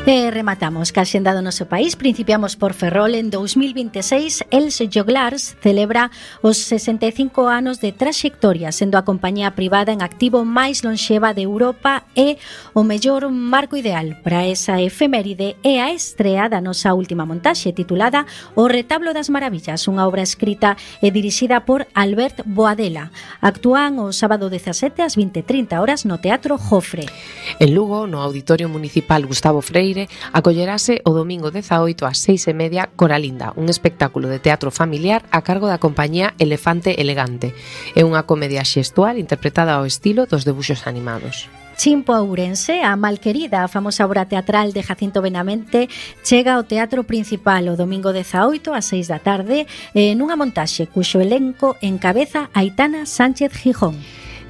E rematamos ca xenda do noso país. Principiamos por Ferrol. En 2026, Els Joglars celebra os 65 anos de traxectoria, sendo a compañía privada en activo máis lonxeva de Europa e o mellor marco ideal para esa efeméride é a estrea da nosa última montaxe titulada O retablo das maravillas, unha obra escrita e dirixida por Albert Boadella. Actúan o sábado 17 ás 20:30 horas no Teatro Jofre. En Lugo, no Auditorio Municipal Gustavo Freire, acollerase o domingo 18 ás 6:30 Coralinda, un espectáculo de teatro familiar a cargo da compañía Elefante Elegante. É unha comedia xestual interpretada ao estilo dos debuxos animados. Chimpo a Ourense, a Malquerida, a famosa obra teatral de Jacinto Benavente, chega ao Teatro Principal o domingo 18 ás 6 da tarde nunha montaxe cuxo elenco encabeza Aitana Sánchez Gijón.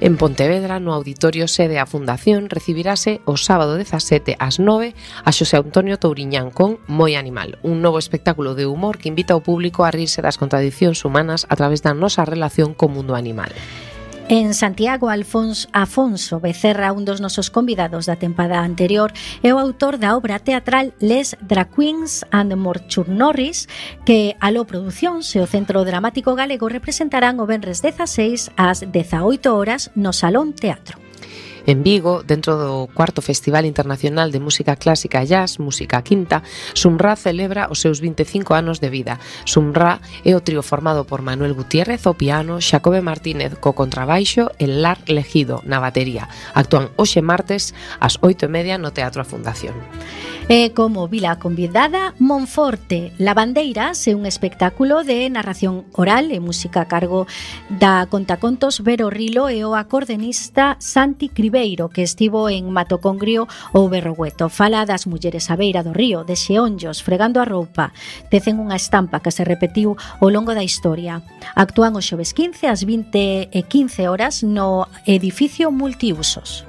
En Pontevedra, no Auditorio Sede a Fundación, recibirase o sábado 17 ás 9 a Xosé Antonio Touriñán con Moi Animal, un novo espectáculo de humor que invita ao público a rirse das contradicións humanas a través da nosa relación co mundo animal. En Santiago, Afonso Becerra, un dos nosos convidados da tempada anterior, é o autor da obra teatral Les Drag Queens and Morchurnorris, que Aló Producións e o Centro Dramático Galego representarán o venres 16 ás 18 horas no Salón Teatro. En Vigo, dentro do cuarto Festival Internacional de Música Clásica e Jazz, Música Quinta, Sumrá celebra os seus 25 anos de vida. Sumrá é o trío formado por Manuel Gutiérrez ao piano, Xacobe Martínez co contrabaixo e Lar Legido na batería. Actúan hoxe martes ás 8:30 no Teatro A Fundación. E como vila convidada, Monforte, Lavandeiras é un espectáculo de narración oral e música a cargo da contacontos Vero Rilo e o acordeonista Santi Cribeiro, que estivo en Matocongrio ou Berrogueto. Fala das mulleres á beira do río, de xeonllos, fregando a roupa. Tecen unha estampa que se repetiu ao longo da historia. Actúan os xoves 15 ás 20:15 horas no edificio multiusos.